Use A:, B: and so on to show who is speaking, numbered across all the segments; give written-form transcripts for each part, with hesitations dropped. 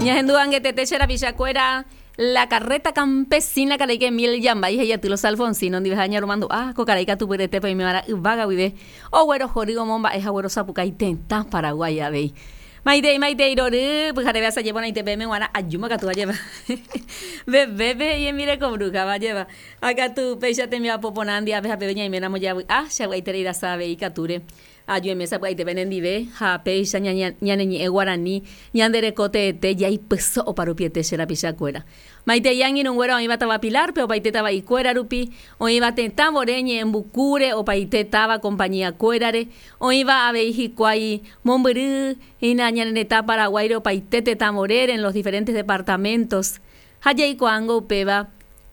A: Ñahendu angetete che rapichakuéra La carreta campesina karai Kemiel Yambay he'i aty Los Alfonsinos ndive ha ñaromandu'a ko karai katupyretépe oimeva'erã yvága guive oguerohory omomba'e ha oguerosapukái tetã Paraguái avei. Maitei maitei rory pyhareve asaje porãite peẽme g̃uarã ajúma katu ajépa vevépe he'i hembireko bruja-va ajépa ha katu péicha tembiapo porã ndiape ha peve ñaiméramo javy'a che avy'aiterei rasa avei ikatúre Ajueme sapy'aite penendive ha péicha ñane ñe'ẽ guarani ñande reko teete jaipyso oparupiete che rapichakuéra. Maitei angirũnguéra oĩva táva Pilar-pe opaite tava'ikuéra rupi, oĩva tetã vore ñe'ẽmbukúre opaite táva compañía-kuérare, oĩva avei hikuái mombyry hína ñane retã Paraguáire opaite tetã vorére en los diferentes departamentos. Ha jaikuaángo upéva,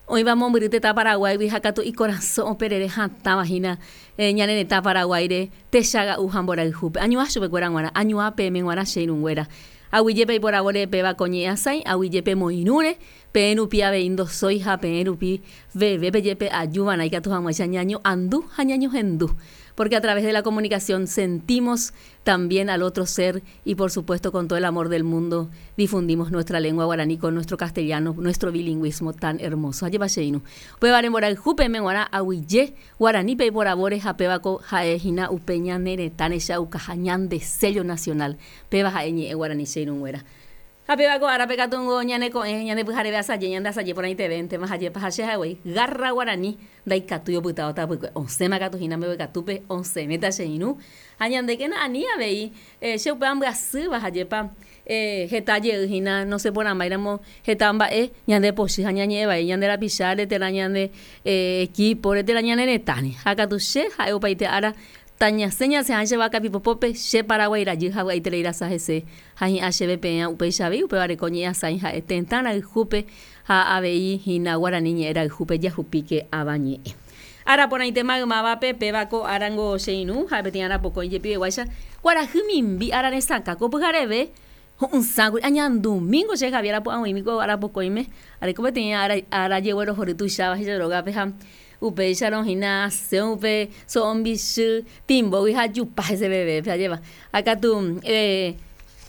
A: oĩva mombyry tetã Paraguáigui ha katu ikorasõ operere hatãva hína ñane retã Paraguáire techaga'u ha mborayhúpe. Añuã chupekuéra g̃uarã, añuã peẽme g̃uarã che irũnguéra. Aguyje peiporavóre péva ko ñe'ẽ asãi, aguyje pemoirũre, peẽ rupi avei ndosói ha peẽ rupi vevépe jepe ajuva'erã ikatu hag̃uáicha ñaño'andu ha ñañohendu. Porque a través de la comunicación sentimos también al otro ser y por supuesto con todo el amor del mundo difundimos nuestra lengua guaraní con nuestro castellano, nuestro bilingüismo tan hermoso. Ajépa che irũ. Upévare mborayhu peẽme g̃uarã aguyje guaraní peiporavóre ha péva ko ha'e hína upe ñane retã rechaukaha ñande sello nacional. Péva ha'e ñe'ẽ guaraní che irũnguéra. Ha péva ko árape katu ngo ñane ko'ẽ ñande pyhareve asaje ñande asaje porãitevéntema ha jepa ha che ha'e garra guaraní ndaikatúi opytávo tapykue osẽma katu hína mbeguekatúpe osẽvéta che irũ ha ñandékena ani avei che upe ambyasýva ha jepa heta jey hína nosẽ porãmbáiramo heta mba'e ñande pochy ha ñañe'ẽ vai ñande rapicháre térã ñande equipore térã ñane retãre ha katu che ha'e opaite ára Tañasẽ ñasẽha che vaka pipopópe, che Paraguái rajy ha vy'aiterei rasa hese, ha hi'ã chéve peẽ upéicha avei, upévare ko ñe'ẽ asãi ha'e tetã rayhúpe ha avei hína guarani ñe'ẽ rayhúpe jahupíke ava ñe'ẽ. Ára porãite maymávape, péva ko árango che irũ, ha'e peteĩ ára pokõi jepiveguáicha, kuarahy mimbi ára resakã ko pyhareve ho'ysãkuri, añandumíngo che Javier apu'ãguimi ko ára pokõime, areko peteĩ ára jeguerohory tuicháva che rógape ha Upéicharõ hína asẽ upe so'o mbichy timbógui ha ajupa heseveve, ajépa. Ha katu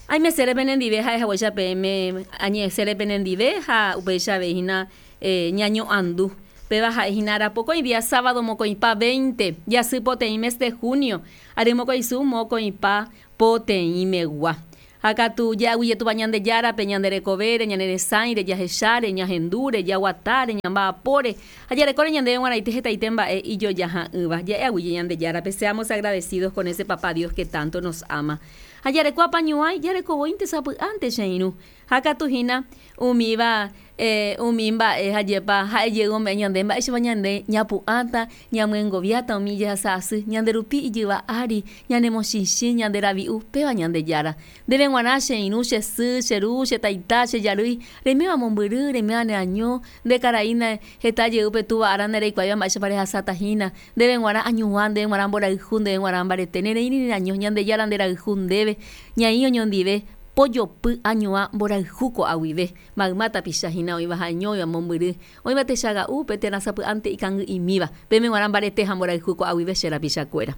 A: aimesére penendive ha'e haguéicha peẽme añe'ẽsére penendive ha upéicha avei hína ñaño'andu. Péva ha'e hína arapokõi día sábado mokõipa veinte, jasy poteĩ mes de junio, ary mokõisu mokõipa poteĩmegua. Ha katu ja'aguyje Tupã Ñandejárape ñande rekovére, ñane resãire, jahecháre, ñahendúre, jaguatáre, ñamba'apóre, ha jarekóre ñandéve g̃uarãite hetaite mba'e ijojaha'ỹva. Ja'e aguyje Ñandejárape, seamos agradecidos con ese Papá Dios que tanto nos ama. Ha jareko apañuãi, jareko voínte sapy'ánte che irũ. Ha katu hína umíva umi mba'e hajépa ha'e jey ome'ẽ ñande mba'éichapa ñande ñapu'ãta, ñamyengoviáta umi jehasa asy, ñande rupi ijyva ári, ñanemochichĩ, ñande ravi'u, péva Ñandejára. Ndéve g̃uarã che irũ, che sy, che ru, che taita, che jarýi, reiméva mombyry, reiméva neaño, nde karai ne heta jey upe túva ára ndereikuaáiva mba'éichapa rehasáta hína, ndéve g̃uarã añuã, ndéve g̃uarã mborayhu, ndéve g̃uarã mbarete, nereĩri neaño, Ñandejára nderayhu ndéve, ñaĩ oñondive, Pojopy añuã mborayhu ko'a guive, mayma tapicha hína oĩva ha'eño oĩva mombyry, oĩva techaga'úpe térã sapy'ánte ikangy'imíva, peẽme g̃uarã mbarete ha mborayhu ko'a guive che rapichakuéra.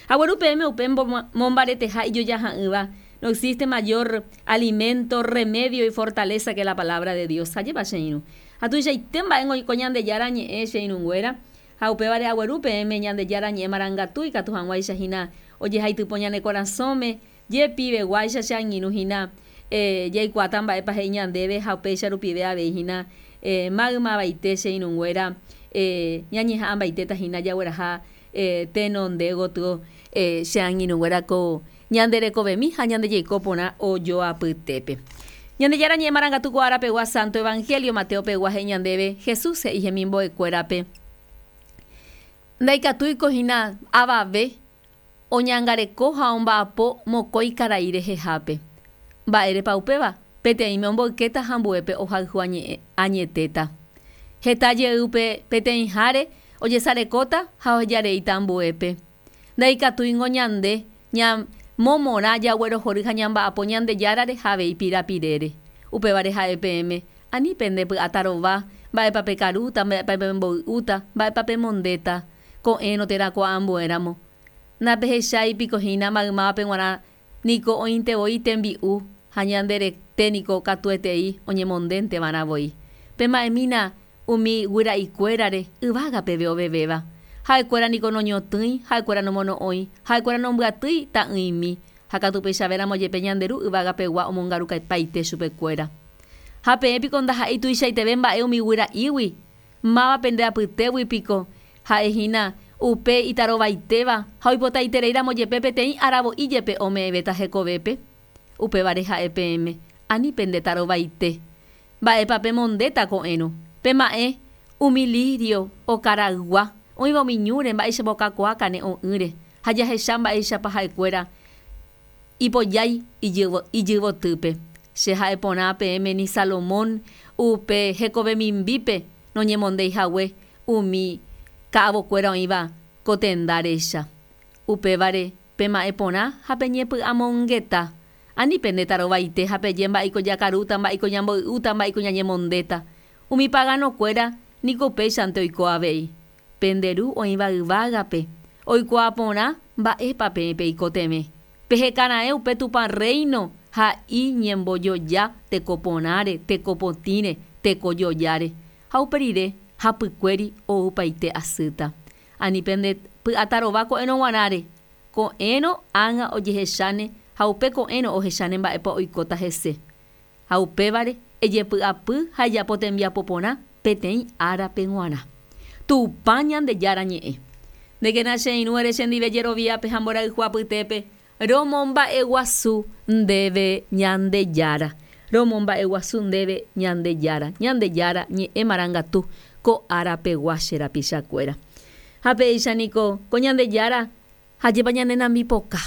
A: Agueru peẽme upe mombareteha ijojaha'ỹva, no existe mayor alimento, remedio y fortaleza que la palabra de Dios. Ajépa che irũ. Ha tuichaite mba'e ko Ñandejára ñe'ẽ che irũnguéra, ha upévare agueru peẽme Ñandejára ñe'ẽ marangatu ikatu hag̃uáicha hína ojehaitypo ñane korasõme, Jepiveguáicha che angirũ hína jaikuaáta mba'épa he'i ñandéve ha upéicha rupive avei hína maymavaite che irũnguéra ñañeha'ãmbaitéta hína jagueraha tenonde gotyo che angirũnguéra ko ñande rekovemi ha ñande jeiko porã ojoapytépe. Ñandejára ñe'ẽ marangatu ko ára pegua Santo Evangelio Mateo pegua he'i ñandéve Jesús he'i hemimbo'ekuérape, Ndaikatúiko hína avave Oñangareko ha omba'apo mokõi karai rehehápe. Mba'érepa upéva? Peteĩme omboykéta ha ambuépe ohayhu añetéta. Heta jey upe peteĩháre ojesarekóta ha ohejareíta ambuépe. Ndaikatúingo ñande ñamomorã jaguerohory ha ñamba'apo Ñandejárare ha avei pirapirére. Upévare ha'e peẽme, ani pende py'atarova, mba'épa pekarúta, mba'épa pemboy'úta, mba'épa pemondéta. Ko'ẽrõ térã ko ambuéramo. Ndapehechái piko hína maymávape g̃uarã niko oĩnte voi tembi'u. Ha ñande rete niko katuetei oñemondénte va'erã voi. Pema'ẽmína umi guyra'ikuérare yvága peve ovevéva. Ha'ekuéra niko noñotỹi, ha'ekuéra nomono'õi, ha'ekuéra nombyatýi ta'ỹimi, ha katu upéichavéramo jepe ñande Ru yvága pegua omongarupaite chupekuéra. Ha peẽ piko ndaha'éi tuichaiteve mba'e umi guyra'ígui? Máva pende apytégui piko ha'e hína upe itarovaitéva ha oipotaitereíramo jepe peteĩ aravo'i jepe ome'ẽvéta hekovépe? Upévare ha'e peẽme, ani pende tarovaite. Mba'épa pemondéta ko'ẽrõ? Pema'ẽ umi lírio okaraygua oĩva umi ñúre mba'éichapa okakuaa kane'õ'ỹre ha jahecha mba'éichapa ha'ekuéra ipojái ijyvotýpe. Che ha'e porã peẽme ni Salomón upe hekove mimbípe noñemondéi hague umi ka'avokuéra oĩva ko tenda recha. Upévare pema'ẽ porã ha peñepy'amongeta. Ani pende tarovaite ha peje mba'éiko jakarúta, mba'éiko ñamboy'úta, mba'éiko ñañemondéta. Umi paganokuéra niko upéichante oiko avei. Pende Ru oĩva yvágape, oikuaa porã mba'épa peẽ peikotevẽ. Peheka raẽ upe Tupã Rréino ha iñembojoja teko porãre, teko potĩre, teko jojáre. Ha upe rire hapykuéri oupaite asýta. Ani pende py'atarova ko'ẽrõ g̃uarãre, ko'ẽrõ ág̃a ojehecháne ha upe ko'ẽrõ ohecháne mba'épa oikóta hese. Ha upévare ejepy'apy ha ejapo tembiapo porã peteĩ árape g̃uarã. Tupã Ñandejára ñe'ẽ. Ndékena che irũ ere chendive jeroviápe ha mborayhu apytépe, Romomba'eguasu ndéve Ñandejára. Romomba'eguasu ndéve Ñandejára. Ñandejára ñe'ẽ marangatu ko ára pegua che rapichakuéra. Ha péicha niko ko Ñandejára hajépa ñane nambipoka.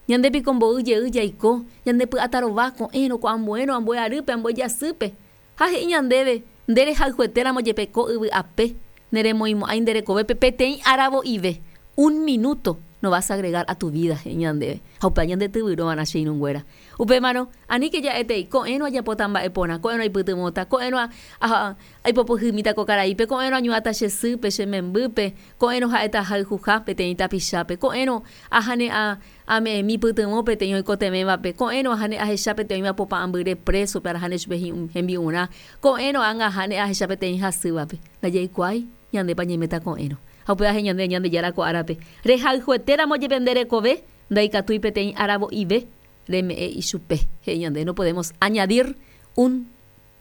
A: Ñande piko mboy jey jaiko, ñande py'atarova ko'ẽrõ, ko ambuérõ, ambue arýpe, ambue jasýpe. Ha he'i ñandéve, Nde rehayhuetéramo jepe ko yvy ape, neremoĩmo'ãi nde rekovépe peteĩ aravo'ive, un minuto, no vas a agregar a tu vida, he'i ñandéve. Ha upéva ñande tyvyrõva'erã che irũnguéra. Upémarõ, aníke ja'etei, Ko'ẽrõ ajapóta mba'e porã, ko'ẽrõ aipytyvõta, ko'ẽrõ aipopyhymíta ko karaípe, ko'ẽrõ añu'ãta che sýpe, che membýpe, ko'ẽrõ ha'éta ahayhuha peteĩ tapichápe, ko'ẽrõ ahane ame'ẽmi pytyvõ peteĩ oikotevẽvape, ko'ẽrõ ahane ahecha peteĩ oĩva popa'ãmbyre présope arahane chupe hembi'urã, ko'ẽrõ ág̃a ahane ahecha peteĩ hasývape. Ndajaikuaái ñandépa ñaiméta ko'ẽrõ. Ha upéva he'i ñande Ñandejára ko árape, Rehayhuetéramo jepe nde rekove, ndaikatúi peteĩ aravo'ive reme'ẽ ichupe. He'i ñande, no podemos añadir un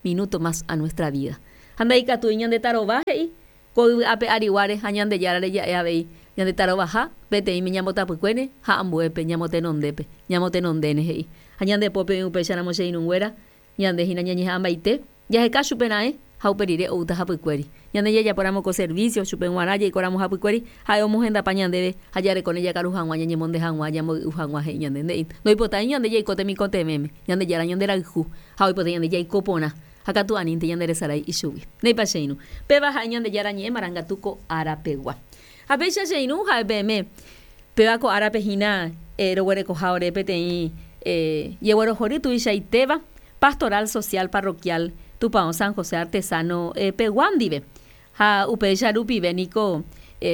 A: minuto más a nuestra vida. Ha ndaikatúi ñande tarova, he'i, ko yvy ape ariguáre ha Ñandejárare ja'e avei, ñande tarovaha peteĩme ñambotapykuéne ha ambuépe ñamotenondépe, ñamotenondéne, he'i. Ha ñande pópe oĩ upéicharamo che irũnguéra, ñande hína ñañeha'ãmbaite, jaheka chupe raẽ ha upe rire oúta hapykuéri. Ñande jajapóramo ko servicio, chupe g̃uarã jaikóramo hapykuéri, ha'e omohendapa ñandéve ha jarekóne jakaru hag̃ua, ñañemonde hag̃ua, ñamboy'u hag̃ua, he'i ñande. Nde'i, ndoipotái ñande jaiko temikotevẽme, Ñandejára ñanderayhu ha oipota ñande jaiko porã. Ha katu anínte ñande resarái ichugui. Ndéipa che irũ. Péva ha'e Ñandejára ñe'ẽ marangatu ko ára pegua. Ha péicha che irũ ha'e peẽme, péva ko árape hína roguerekoha ore peteĩ jeguerohory tuichaitéva Pastoral Social Parroquial Tupão San José Artesano pegua ndive. Ha upéicha rupive niko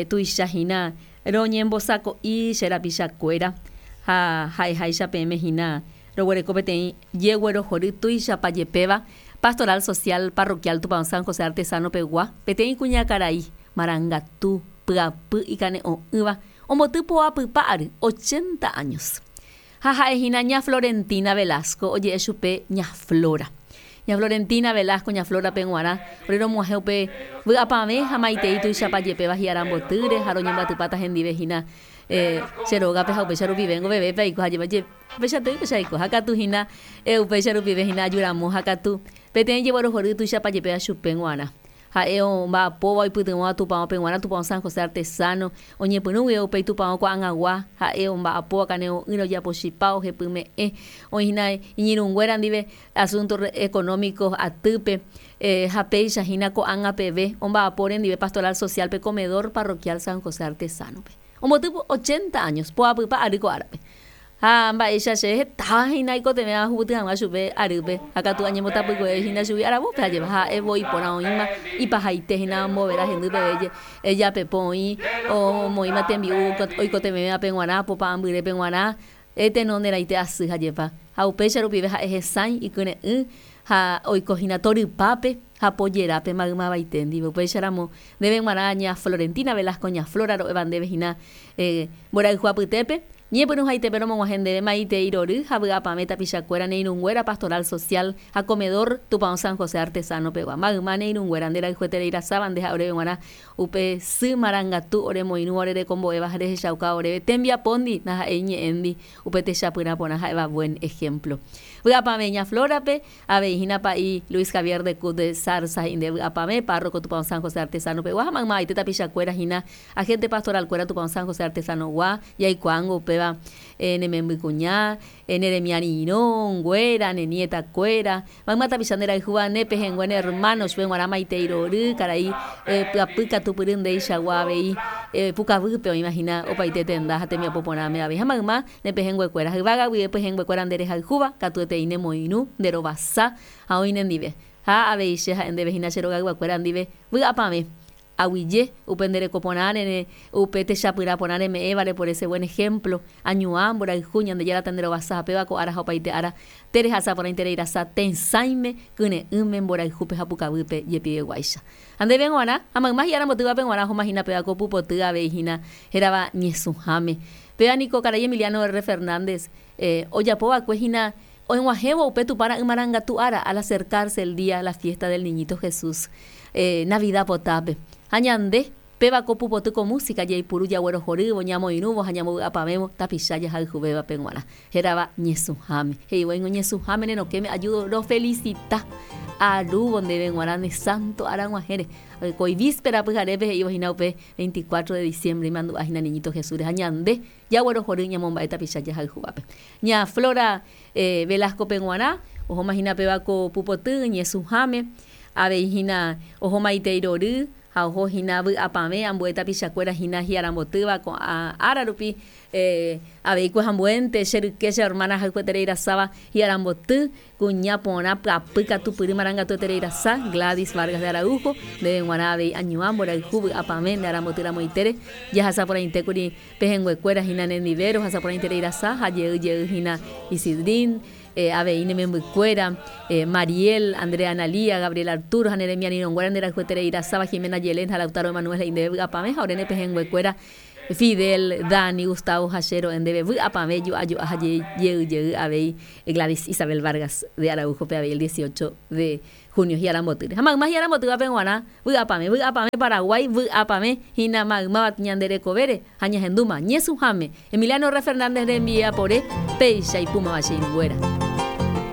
A: tuicha hína roñembosako'i che rapichakuéra ha ha'eháicha peẽme hína roguereko peteĩ jeguerohory tuichapa jepéva Pastoral Social Parroquial Tupão San José Artesano pegua, peteĩ kuñakarai marangatu pyapy ikane'õ'ỹva omboty poapypa ary, ochenta años. Ha ha'e hína Ña Florentina Velasco, oje'e chupe Ña Flora. Ña Florentina Velasco, Ña Flora-pe g̃uarã, ore romog̃uahẽ upe vy'apavẽ ha maitei tuichapa jepéva hi'arambotýre ha roñembyatypáta hendive hína che rógape ha upéicha rupive ngovevépe aiko ha jepe upéicha toiko che aiko ha katu hína upéicha rupive hína ajuramo ha katu peteĩ jeguerohory tuichapa jepéva chupe g̃uarã. Ha'e omba'apóva oipytyvõva tupãópe g̃uarã, tupão San José Artesano, oñepyrũ guive upéi tupão ko'ag̃agua, ha'e omba'apóva kane'õ'ỹre ojapochipa, ohepyme'ẽ, oĩ hína iñirũnguéra ndive asunto económico atýpe, ha péicha hína ko'ág̃a peve omba'apo rendive pastoral social-pe comedor parroquial San José Artesano-pe. Omboty ochenta años, poapypa ary ko árape. Ha mba'éicha che hetáva hína aikotevẽ ahupyty hag̃ua chupe arýpe, ha katu añembotapykueve hína chugui aravópe ajépa, ha'e voi porã oĩma ipahaite hína ombovera hendy peve japepo oĩ omoĩma tembi'u oikotevẽvape g̃uarã, popa'ãmbyrépe g̃uarã. Tenonderãite asy ha jepa. Ha upéicha rupive ha'e hesãi ikyre'ỹ ha oiko hína torypápe ha pojerápe maymavaite ndive. Upéicha ramo ndéve g̃uarã ña Florentina Velasco ña Flora ro'éva ndéve hína mborayhu apytépe, Ñepyrũhaitépe romog̃uahẽ ndéve maitei rory ha vy'apavẽ tapichakuéra ne irũnguéra Pastoral Social ha Comedor Tupão San José Artesano pegua. Mayma ne irũnguéra nde rayhueterei rasáva nde ha oréve g̃uarã upe sy marangatu oremoirũva orerekombo'éva ha rehechaukáva oréve tembiapóndi ndaha'éi ñe'ẽndi upe techapyrã porã ha'éva buen ejemplo. Vy'apavẽ ña Flora-pe Avei hína pa'i Luis Javier de Cud de Zarza he'i nde vy'apavẽ, párroco Tupão San José Artesano pegua ha maymaite tapichakuéra hína agente pastoral kuéra Tupão San José Artesano gua, jaikuaángo upéva ne memby kuña, ne remiarirõ nguéra, ne nieta kuéra, mayma tapicha nde rayhúva ne pehẽngue ne hermano chupe guarã maitei rory, karai pyapy katupyry ndeichagua avei pukavýpe oĩva hína opaite tenda ha tembiapo porãme avei ha mayma Ne pehẽnguekuéra, yvága guive pehẽnguekuéra nde rehayhúva, katuetei ne moirũ, nde rovasa ha oĩ ne ndive. Ha avei che ha'e ndéve hína che rogayguakuéra ndive, vy'apavẽ, aguije, upe nde reko porãre ne, upe techapyrã porã reme'ẽvare por ese buen ejemplo, añuã, mborayhu, Ñandejára ta nde rovasa ha péva ko ára ha opaite ára, te rehasa porãiterei rasa tesãime, kyre'ỹme, mborayhúpe ha pukavýpe jepiveguáicha. Ha ndéve g̃uarã, ha mayma hi'ára mbotývape g̃uarã ohóma hína péva ko pupoty avei hína hérava ñesũháme. Péva niko karai Emiliano R. Fernández ojapo va'ekue hína og̃uahẽvo upe Tupã Ra'y Marangatu ára al acercarse el día la fiesta del Niñito Jesús Navidad potápe. Ha ñande, péva ko pupoty ko música jaipuru jaguerohorývo, ñamoirũvo ha ñambovy'apavẽvo tapicha jahayhuvévape g̃uarã. Hérava ñesũháme. He'i voíngo ñesũháme ne rokẽme ajudo rofelicita arúvo ndéve g̃uarã ne santo ára g̃uahẽre. Ko ivíspera pyharépe he'ívo hína upe 24 de diciembre imandu'a hína Niñito Jesús-re ha ñande jaguerohory ñamomba'e tapicha jahayhúvape. Ña Flora Velasco-pe g̃uarã ohóma hína péva ko pupoty ñesũháme, avei hína ohóma itei rory ha oho hína vy'apavẽ ambue tapichakuéra hína hi'arambotýva ko'ã ára rupi Avei kuehambuénte, che ryke, che hermana ahayhueterei rasáva hi'aramboty, kuña porã pyapy katupyry marangatueterei rasa, Gladys Vargas de Araujo, ndéve g̃uarã avei añuã mborayhu vy'apavẽ nde aramboty ramoitére, jahasa porãitékuri pehẽnguekuéra hína nendive, rohasa porãiterei rasa ha jey jey hína Isidrín, avei ne membykuéra, Mariel, Andrea Analía, Gabriel Arturo ha ne remiarirõnguéra nde rayhueterei rasáva Jimena Yelén ha Lautaro Emanuel he'i ndéve vy'apavẽ ha ore ne pehẽnguekuéra Fidel, Dani, Gustavo ha che ro'e ndéve vy'apavẽ jo'a jo'a ha jey jey avei Gladys Isabel Vargas de Araujo-pe avei el 18 de junio hi'arambotýre. Ha mayma hi'arambotývape g̃uarã vy'apavẽ, vy'apavẽ Paraguái, vy'apavẽ hína maymáva ñande rekovére ha ñahendúma ñesũháme Emiliano R. Fernández rembiapore péicha ipúmava che irũnguéra.